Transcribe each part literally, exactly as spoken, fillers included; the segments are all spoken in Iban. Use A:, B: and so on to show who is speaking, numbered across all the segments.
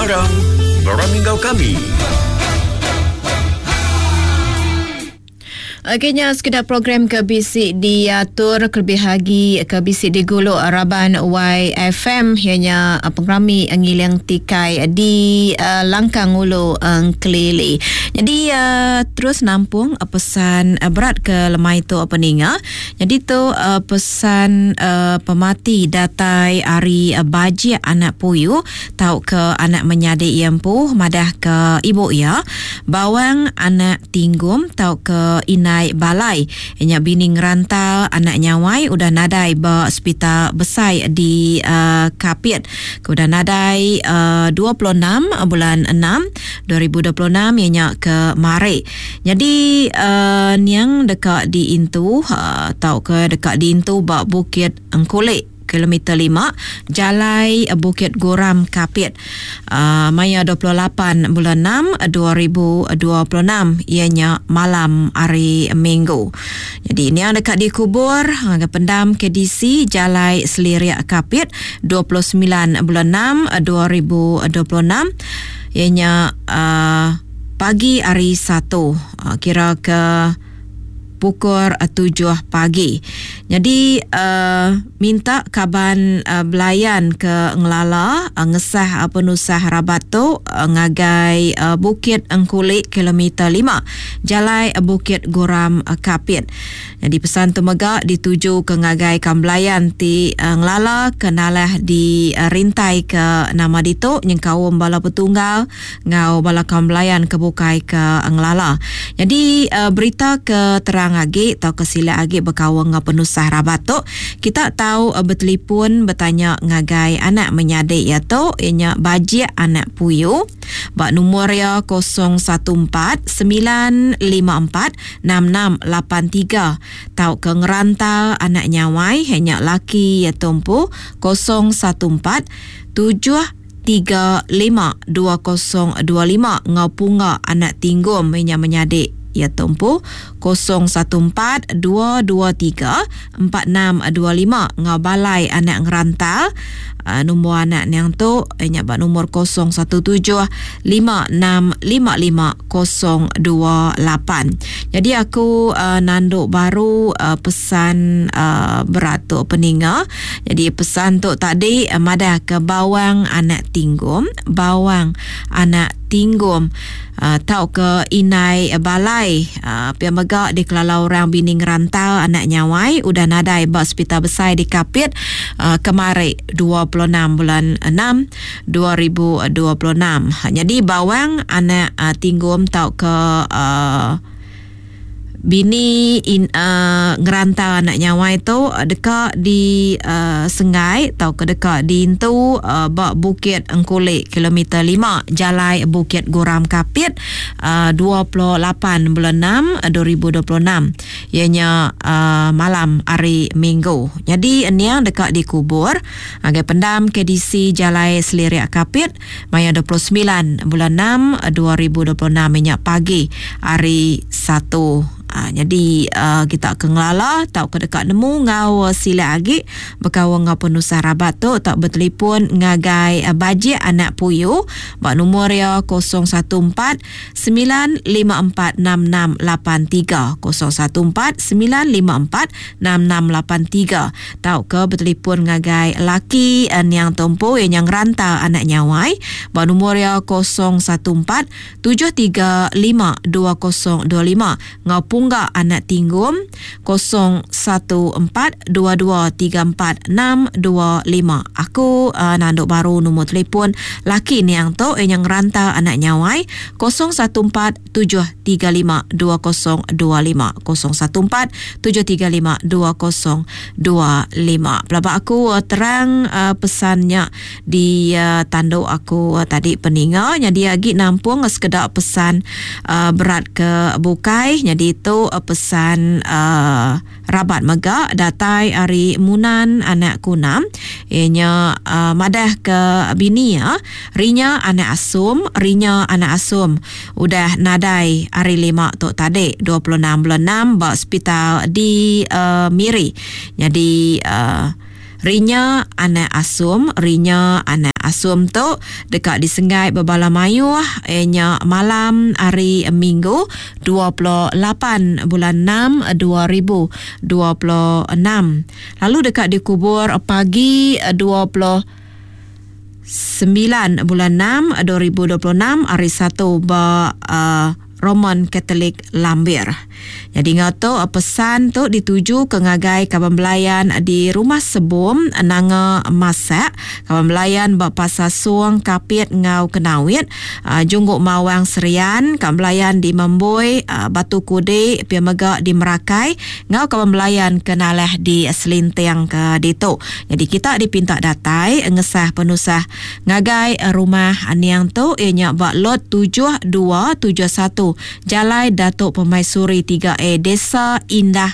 A: Aram, berami enggau kami.
B: Okey nya sekeda program ke bisi diatur kelebih agi ke bisi digulu raban Y F M ianya pengerami ngiling tikai di uh, Langkang Ulu Engkelili. Jadi uh, terus nampung uh, pesan uh, berat ke lemai tu peninga. Jadi tu uh, pesan uh, pemati datai ari uh, Bajik anak Puyu tau ke anak menyadi ia empu madah ke ibu ia Bawang anak Tinggum tau ke Inai Balai nya bini ngerantal anak nyawai udah nadai ba hospital besai di uh, Kapit. Ke udah nadai uh, dua puluh enam bulan enam dua ribu dua puluh enam ianya ke mari. Jadi uh, niang dekat diintu uh, tau ke dekat diintu ba Bukit Engkulik kilometer lima Jalai Bukit Goram Kapit. Uh, maya dua puluh lapan bulan enam dua ribu dua puluh enam ianya malam hari Minggu. Jadi ini yang dekat dikubur ke pendam K D C Jalai Seliriak Kapit dua puluh sembilan bulan enam dua ribu dua puluh enam ianya uh, pagi hari Satu uh, kira ke pukul tujuh pagi. Jadi uh, minta kaban uh, belayan ke ngelala uh, ngesah uh, penusah rabat tu uh, ngagai uh, Bukit Engkulik kilometer lima Jalai Bukit Goram uh, Kapit. Jadi pesan tu mega dituju ke ngagai kam belayan ti uh, ngelala ke nalah di uh, rintai ke nama ditu nyengkaum bala petunggal ngau bala kam belayan ke bukai ke ngelala. Jadi uh, berita ke terang agi atau ke sila agi berkawang ngau penusah rabat tu kita tahu uh, bertelefon bertanya ngagai anak menyadik ya tu ianya Bajik anak Puyu bak nombor ya kosong satu empat sembilan lima empat enam enam lapan tiga tau ke ngerantal anak nyawai hanya laki ya tumpu kosong satu empat tujuh tiga lima dua kosong dua lima ngau punga anak tinggum ianya menyadik ya tumpu kosong satu empat dua dua tiga empat enam dua lima ngau balai anak ngerantal. Uh, nombor anak yang tu ianya bak nombor kosong satu tujuh lima enam lima lima kosong dua lapan. Jadi aku uh, nanduk baru uh, pesan uh, berat tu peninga. Jadi pesan tu tadi uh, madah ke Bawang anak Tinggum, Bawang anak Tinggum uh, tau ke Inai Balai uh, pia mega di Kelala orang bini ngerantal anak nyawai udah nadai ba hospital besai di Kapit uh, kemari dua puluh enam bulan enam dua ribu dua puluh enam. Jadi Bawang anak uh, Tinggum tau ke uh, bini in, uh, ngerantal anak nyawai tu dekat di uh, Sengai tau ke dekat di Intu uh, bak Bukit Engkulik kilometer lima Jalai Bukit Goram Kapit uh, dua puluh lapan bulan enam dua ribu dua puluh enam ianya uh, malam hari Minggu. Jadi niang dekat dikubur agai pendam K D C Jalai Seliriak Kapit maya dua puluh sembilan bulan enam dua ribu dua puluh enam minyak pagi hari Satu. Ha, jadi uh, kita ke ngelala tau ke dekat nemu ngau sila agi berkawan ngau penusah rabat tu tak bertelefon ngagai uh, Bajik anak Puyu bak nombor ya kosong satu empat sembilan lima empat enam enam lapan tiga kosong satu empat sembilan lima empat enam enam lapan tiga tau ke bertelefon ngagai laki uh, niang tompo yang yang ranta anak nyawai bak nombor ya kosong satu empat tujuh tiga lima dua kosong dua lima ngau Pungga anak Tinggum kosong satu empat dua dua tiga empat enam dua lima. Aku uh, nanduk baru nombor telefon laki niang tu yang ranta anak nyawai kosong satu empat tujuh tiga lima dua kosong dua lima kosong satu empat tujuh tiga lima dua kosong dua lima. Pelabak aku uh, terang uh, pesannya di uh, tanduk aku uh, tadi peninga. Jadi agi nampung uh, sekedar pesan uh, berat ke bukai. Jadi itu pesan uh, rabat mega datai ari Munan anak Kunam ianya uh, madah ke bini ya rinya anak Asum rinya anak Asum udah nadai hari lima tu tadi dua puluh enam bulan enam ba hospital di uh, Miri. Jadi uh, rinya anak Asum rinya anak Asum tu deka disenggai bebala mayuh nya malam hari Minggu dua puluh lapan bulan enam dua ribu dua puluh enam lalu deka dikubur pagi dua puluh sembilan bulan enam dua ribu dua puluh enam hari Satu ba uh, Roman Catholic Lambir. Jadi ngau tu pesan tu dituju ke ngagai kaban belayan di Rumah Sebum Nanga Masak, kaban belayan ba Pasar Suang Kapit ngau Kenawit, uh, Jungguk Mawang Serian, kaban belayan di Memboi, uh, Batu Kudi, pia mega di Merakai, ngau kaban belayan kenalah di Selinting ke ditu. Jadi kita dipinta datai ngesah penusah ngagai rumah niang tu ianya ba lot tujuh dua tujuh satu Jalai Datuk Permaisuri tiga A Desa Indah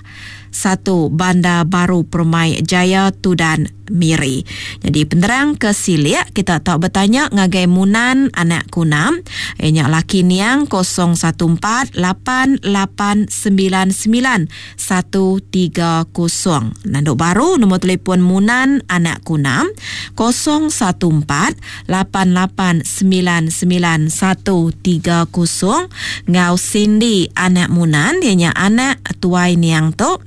B: satu Bandar Baru Permai Jaya Tudan Miri. Jadi penerang ke silik kita tak bertanya ngagai Munan anak Kunam ianya laki niang kosong satu empat lapan lapan sembilan sembilan satu tiga kosong. Nanduk baru nombor telefon Munan anak Kunam kosong satu empat lapan lapan sembilan sembilan satu tiga kosong. Ngau Cindy anak Munan ianya anak tuai niang tu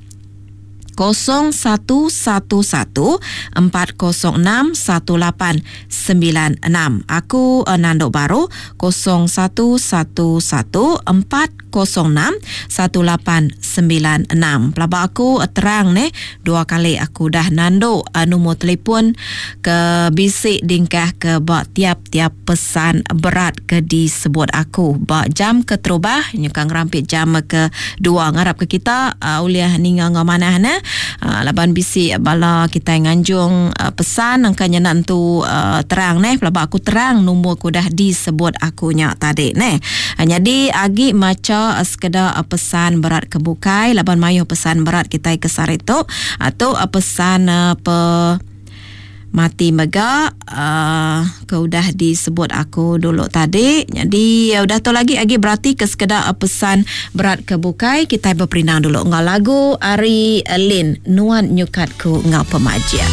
B: kosong satu satu satu empat kosong enam satu lapan sembilan enam. Aku uh, nanduk baru kosong satu satu satu empat kosong enam satu lapan sembilan enam. Pelaba aku uh, terang ni dua kali aku dah nanduk uh, nombor telefon ke bisik dingkah ke bak tiap-tiap pesan berat ke disebut aku. Bak jam keterubah nyukang rampit jam ke dua ngarap ke kita uh, uliah ninga ngau manah ne. Uh, laban bisi bala kita nganjung uh, pesan angkanya nak tu uh, terang neh pelaba aku terang nombor aku dah disebut akunya tadi neh. Uh, jadi agi maca uh, sekedar uh, pesan berat kebukai laban mayuh pesan berat kita ke saritu atau uh, pesan uh, pe mati mega uh, ke udah disebut aku dulu tadi. Jadi uh, udah tu lagi lagi berarti ke sekedar uh, pesan berat ke bukai kita berperindang dulu ngau lagu Ari Lin Nuan Nyukatku ngau pemajia.